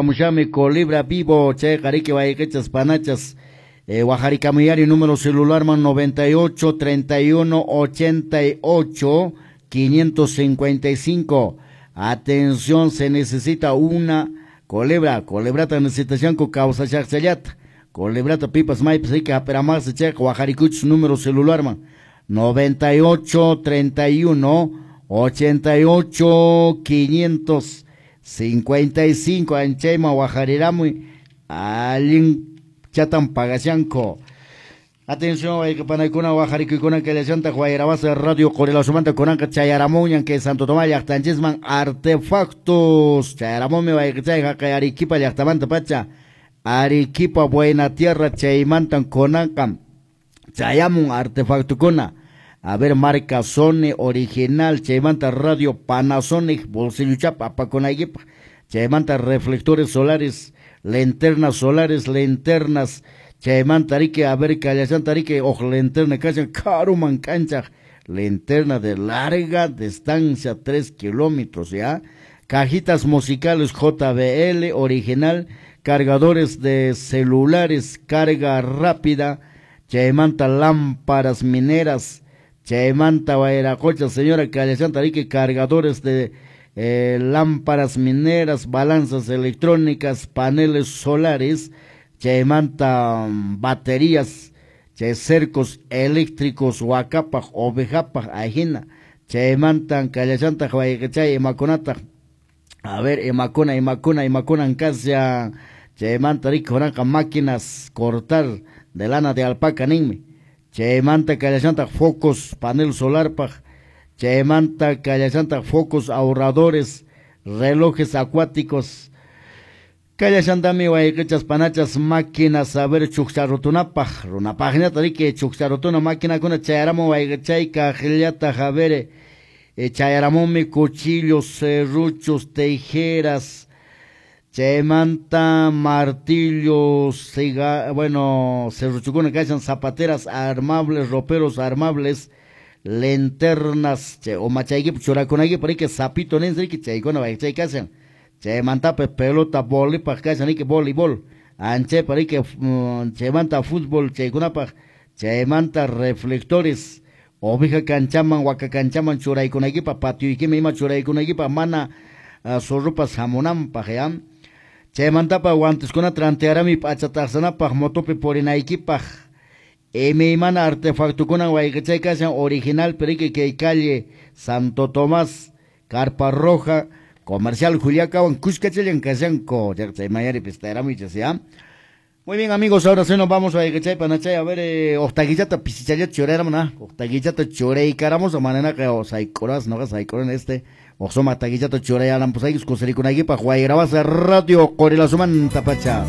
Mushami Colibra Vivo, chayqa riki wayqichas panachas, waqarikamuyari número celularman 98 31 88 555. Atención, se necesita una colebra, colebrata necesitashanku kawsashaqchallata. Colebrata pipas maypas riki hap'iramarsi chayqa waqarikuchis número celularman 98 31 88 555. Anchayman waqariramuy, allin chatan pagashanku. Atención, wayqipanakuna waqarikuykuna kallashantaq Wayrawasi Radio Qurilasumanta kunanqa chayaramunñan kay Santo Tomás llaqtanchisman artefactos. Chayaramunmi wayqichay haqay Arequipa llaqtamanta pacha, Arequipa Buena Tierra chaymantan kunanqa chayamun artefactokuna. A ver, marca Sony original, chaymanta radio Panasonic, bolsilluchapa apakunaykipaq, chaymanta reflectores solares, linternas solares, linternas, chaymanta riki, a ver, kallashanta riki, huk linterna kashan karuman kanchaq, linterna de larga distancia, 3 kilómetros, ya, cajitas musicales JBL original, cargadores de celulares, carga rápida, chaymanta lámparas mineras, chaymanta wayraqucha, señora, kallashanta riki, cargadores de lámparas mineras, balanzas electrónicas, paneles solares, chaymanta baterías, chay cercos eléctricos, wakapaq, ovejapaq, ajina, chaymanta kallashanta wayqichay imakunataq, a ver, imakuna, imakuna, imakunan kashan, chaymanta riki kunanqa máquinas cortar de lana de alpaca ninmi, chaymanta kallashantaq focos, panel solarpaq, chaymanta kallashantaq focos ahorradores, relojes acuáticos, kallashantami wayqichas panachas máquinas, a ver, chukcharutunapaq, runapaqñata riki chukcharutuna maquinakuna chayaramun wayqichay kaqllataq, a ver, chayaramunmi cuchillos, serruchos, tijeras, chaymanta martillos, bueno, serruchukuna kashan, zapateras armables, roperos armables, linternas, chay, o machaykipa churakunaykipa riki sapito ninsi riki chaykuna wayqichay kashan, chaymantapas pelota volipaq kashan riki voleibol, anchaypa riki, chaymanta fútbol chaykunapaq, chaymanta reflectores, oveja kanchaman, waka kanchaman churaykunaykipaq, patioykima ima churaykunaykipaq, mana zorropas hamunanpaq, ya. Chaymantapa guanteskunata rantiarami p'achataqsanapaq, motopi purinaykipaq, imaymana artefactokunan wayqichay kashan original, pero riki kay calle Santo Tomás, Carpa Roja, Comercial Juliacawan, kuskachallan kashanku, chaymayari pistayaramuchis, ya. Muy bien, amigos, ahora sí nos vamos a wayqichay panachay, a ver, octaguillata pisichallata churayaramun, ah, octaguillata churaykaramos, mananaqa saykuras, noqa saykuran este, oqsuma taguillata churayaran, pues ahí kusirikunaykipaq, Wayrawasi Radio Qurilasumanta pacha.